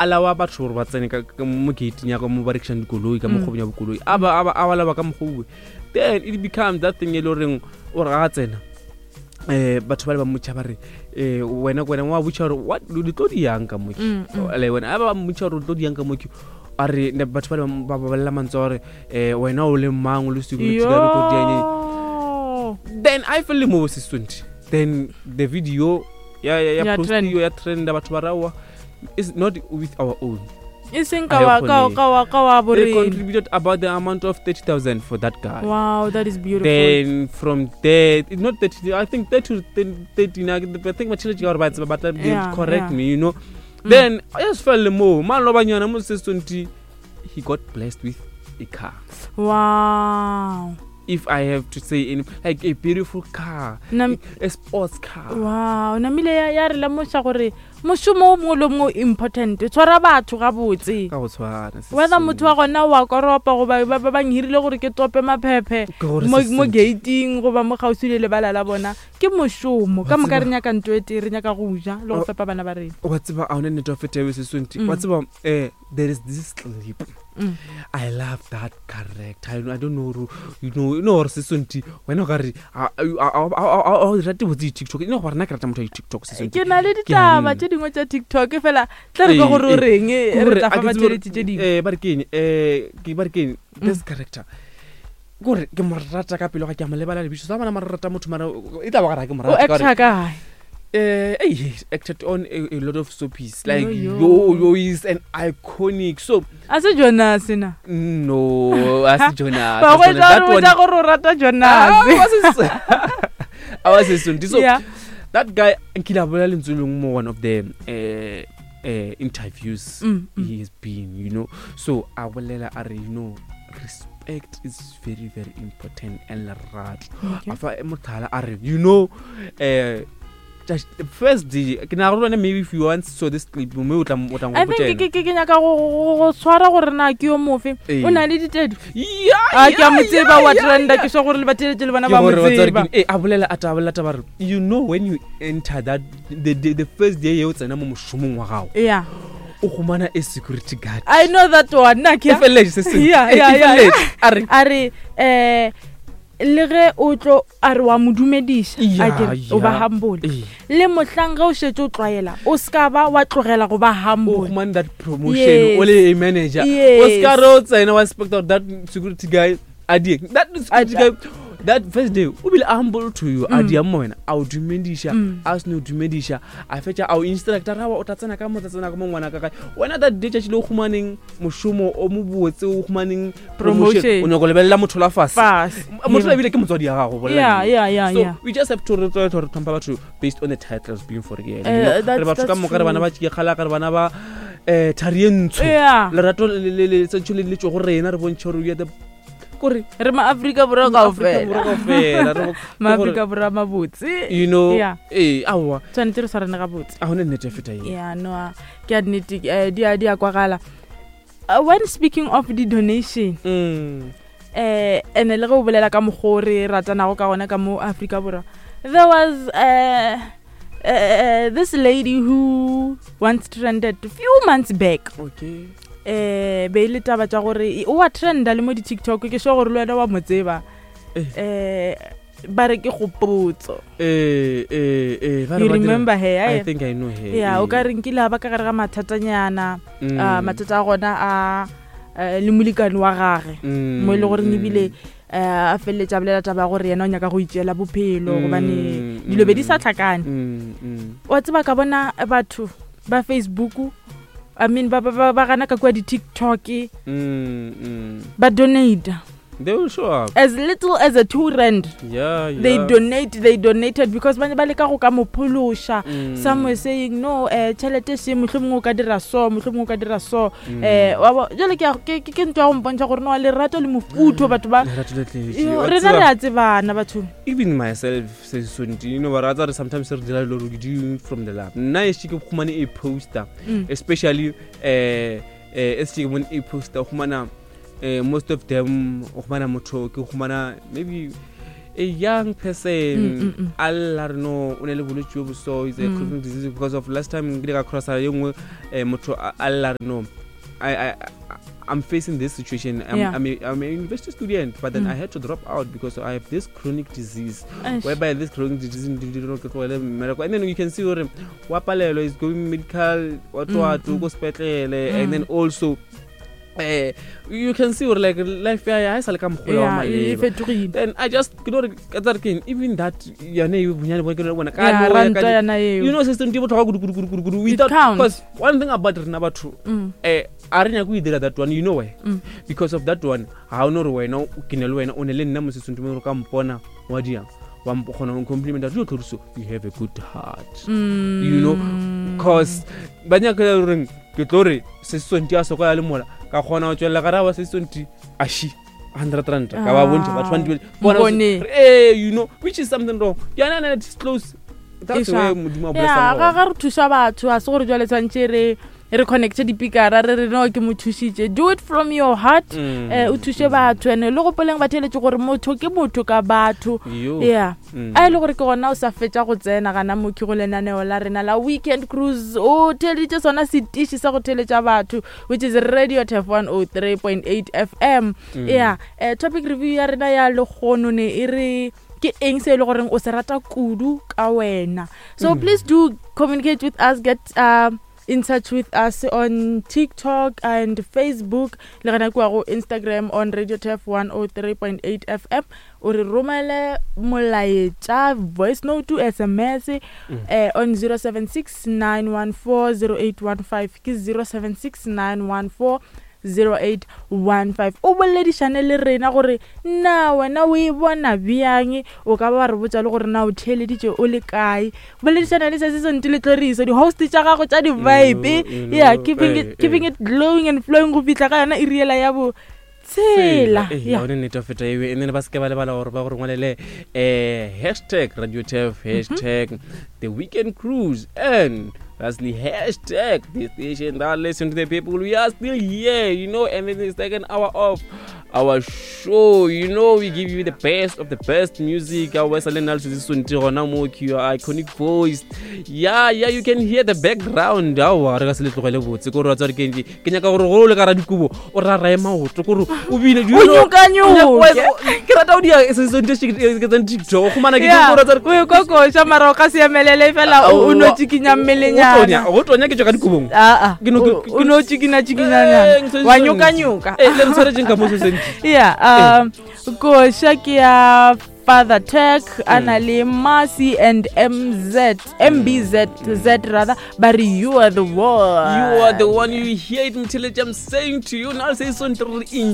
Alawa batho gore ba tsene mo gating ya ka mo ba rekišang dikoloi ka mo kgwebong ya bokoloi, a ba a ba a ba lawa ka mokgwa, then it becomes that thing e le goreng o re ga tsena, batho ba le ba mmotša ba re, wena wena wa botša gore what le tlo di yang ka moki. Le wena a ba mmotša gore o tlo di yang ka moki, a re batho ba le ba ba bolela mantswe a gore, wena o le mang, o le security guard, o tlo di yang. Then I feel mo se 20, then the video ya post ya trend, batho ba rawa is not with our own. E seng ka wa ka ka wa ka wa borena. They contributed about the amount of 30,000 for that guy. Wow, that is beautiful. Then from there, it's not 30, I think 30 13, I think my children are about but they correct me, you know. Then I just fell mo man lo banyana mo se 20, he got blessed with a car. Wow. If I have to say any, like a beautiful car, a sports car. Wow, namile ya re lemoša gore mošomo o mongwe le o mongwe important, tshwara batho gabotse. Ka go tshwana. Whether motho wa gona wa koropa goba ba ba nghirile gore ke tope maphephe mo gating goba mo kgauswi le lebala la bona, ke mošomo. Ka moka re nyaka nto e tee, re nyaka go ja le go fepa bana ba rena. Wa tseba, a one nnete wa feta eo sesonti. Wa tseba, there is this clip. I love that character. I don't know, you know gore sesonti wena o ka re a rate botse di-TikTok ene gore nna ke rata motho wa di-TikTok sesonti. Ke na le ditaba tše dingwe tša TikTok, fela tla re ka gore o reng, re tla fa batšheletši tše dingwe. Ba re ke eng, ke ba re ke eng, this character kore ke mo rata ka pelo ga ke a mo lebala lebitso sa bona, mara rata motho mara e tla ba gare ga ke mo rata. O actor kae? He acted on a lot of soapies like yo yo is an iconic so. A se Jonas na? No, a se Jonas. Ba go tla gore o rata Jonas. A wa se so that guy nkile a bolela lentswe lengwe mo one of the interviews he has been, you know, so a bolela a re, you know, respect is very very important and lerato. A fa motlhala a re, you know, just the first day ke na go maybe if you want so this clip mme o tla o tla I think ke nyaka go tshwara gore na ke yo mofe o na le ditedu. A ke a mo tseba wa trenda, ke swa gore le batheletše le bona ba mo tseba. A bolela a ta bolela taba re, you know, when you enter that the first day o tsena mo mošomong wa gago, o humana a security guard. I know that one na ke feletse se. Yeah, a re le ge o tlo a re wa mo dumediša, a ke o ba humble, le mohlang ge o šetše o tlwaela o ska ba wa tlogela go ba humble. O humane that promotion o le a manager, o ska re o tsena wa expect that security guy a die that security guy that first day o bile humble to you, a dia mo wena, a o dumediša, a se no dumediša, a fetša a o instructor ra o tla tsena ka mo, tla tsena ka mo ngwana ka kae wena. That day tšatši le o humaneng mošomo o mobotse, o humaneng promotion, o nyako lebelela motho la fase, motho la ebile ke motswadi ya gago. So we just have to re re tlhompha batho based on the titles being for real. Re batho ka moka, re bana ba tšekgala, re bana ba thari e ntsho, lerato le tsentšho le le tšo go rena, re bontšhe gore we are the kore re ma-Afrika Borwa kaofela, ma-Afrika Borwa mabotse. You know, ee, aowa. Tshwanetse re tshwarane gabotse. A gone nnete feta e. Ya no, ke a nnete, di a kwagala. When speaking of the donation, ene le ge o bolela ka mokgwa o re ratanago ka gona ka mo Afrika Borwa, there was this lady who once trended few months back. Be e le taba tša gore o wa trenda le mo di-TikTok, ke sure gore le wena wa mo tseba. Ba re ke Gopotso. You remember her? I think I know her. Yeah, o ka re nkile a ba ka gare ga mathatanyana, mathata a gona a le molekane wa gage, mo e le gore ebile a feleletša bolela taba ya gore yena o nyaka go itšeela bophelo gobane dilo be di sa tlhakane. Wa tseba, ka bona batho ba Facebook, I mean ba ba gana ka kua di-TikTok, ba donate. They will show up. As little as a 2 rand. They donate, they donated because ba ne ba leka go ka mo phološa. Some were saying, no, tšhelete se mohlomongwe o ka dira so, mohlomongwe o ka dira so. Jale ke ntho ya go mpontšha gore no lerato le mofutho batho ba rena re a tsebana batho. Even myself sesonti, you know, ba ratsa re sometimes re dira dilo re do from the lab. Nna e ke khumane a poster, especially e se ke bone a poster, khumana most of them o khumana motho ke khumana maybe. a young person a lla re no o ne le bolwetse jo bo so is a chronic disease because of last time nkile ka crossa ye nngwe motho a lla re no I'm facing this situation. I'm a university student, but then I had to drop out because I have this chronic disease. Whereby this chronic disease, and then you can see gore wa palelwa is going medical, what what, go sepetlele, and then also you can see gore like life ya ya e sa le ka mokgwa wa Yeah, e maleba. fetogile. Then I just ke no re ka tsare keng, even that yone e bonyane bo ke no bona ka Yeah, no ya ranta ka yona eo. You know system di botlhokwa kudu kudu kudu kudu kudu It without counts. because one thing about rena batho a re nyake go e dira that one, you know why? Because of that one ga o no re wena ke ne le wena o ne le nna mo sesong gore ka mpona wa diang wa kgona go compliment re tlhoriso, you have a good heart, you know, cause ba nyaka goreng ke tlo re sesonti a soko ya le mola ka kgona go tswelela gare wa sesonti a shi 100 rand ka ba bontšha batho ba ntibele bona Mpone. Eh, you know, which is something wrong yana na disclose. That's E where sharp. Modimo a Ya, blessang ga gona. ga re thuša batho a se gore jale tshwanetse re connecte dipikara re re no ke mo thušitše. Do it from your heart. O thuše batho ene le gopoleng batheletše gore motho ke motho ka batho. Yo. Yeah. A e le gore ke gona o sa fetša go tsena gana mokhi go lenaneo la rena la Weekend Cruise, o theleditše sona setiši sa go theletša batho, which is Radio Tef 103.8 FM. Yeah, topic review ya rena ya lekgono ne e re ke eng se e le goreng o se rata kudu ka wena. So please do communicate with us, get in touch with us on TikTok and Facebook le gona kua go Instagram on Radio Tef 103.8 FM. O re romele molaetša, voice note, SMS on 076 914 0815, ke 076 914 0815. O boledišane le rena gore na wena o e bona bjang, o ka ba wa re botša le gore na o theeleditše o le kae. Boledišana le se se nte le tloriso di-host tša gago tša di-vibe. You know, Yeah, keeping eh, it, keeping it glowing and flowing go fihla ka yona e riela ya bo tshela. Eh, Yeah. yone nnete feta eo, and then ba seke ba lebala gore ba gore ngwalele hashtag Radio Tef, hashtag the Weekend Cruise, and lastly hashtag the station that listen to the people. We are still here, you know, and then the second hour of our show, you know, we give you the best of the best music. Our sonti gona mo ke your iconic voice. Yeah, you can hear the background. Aowa, re ka se le tlogele botse kore wa tswa re ke ke nyaka gore go le ka radikobo o rarae maoto kore o bine, do you O know? nyokanyuke. Ke rata go dia sesonte ke tsang TikTok o khumana ke Yeah, gore tsa o e kokoša mara o ka se emelele fela o no tsikinya mmelenyana. Go tonya ke tswa ka dikobong. Aa, Ke no- o no tsikina tsikinyanyana Eh, wa nyokanyuka. Eh, le re tshwaretseng ka mo sesonte. Yeah, koša ke ya Father Tech a na le Marcy and MZ, MBZ Z rather, ba re you are the one. You are the one. You hear it, Mtheletse. I'm saying to you now, say something.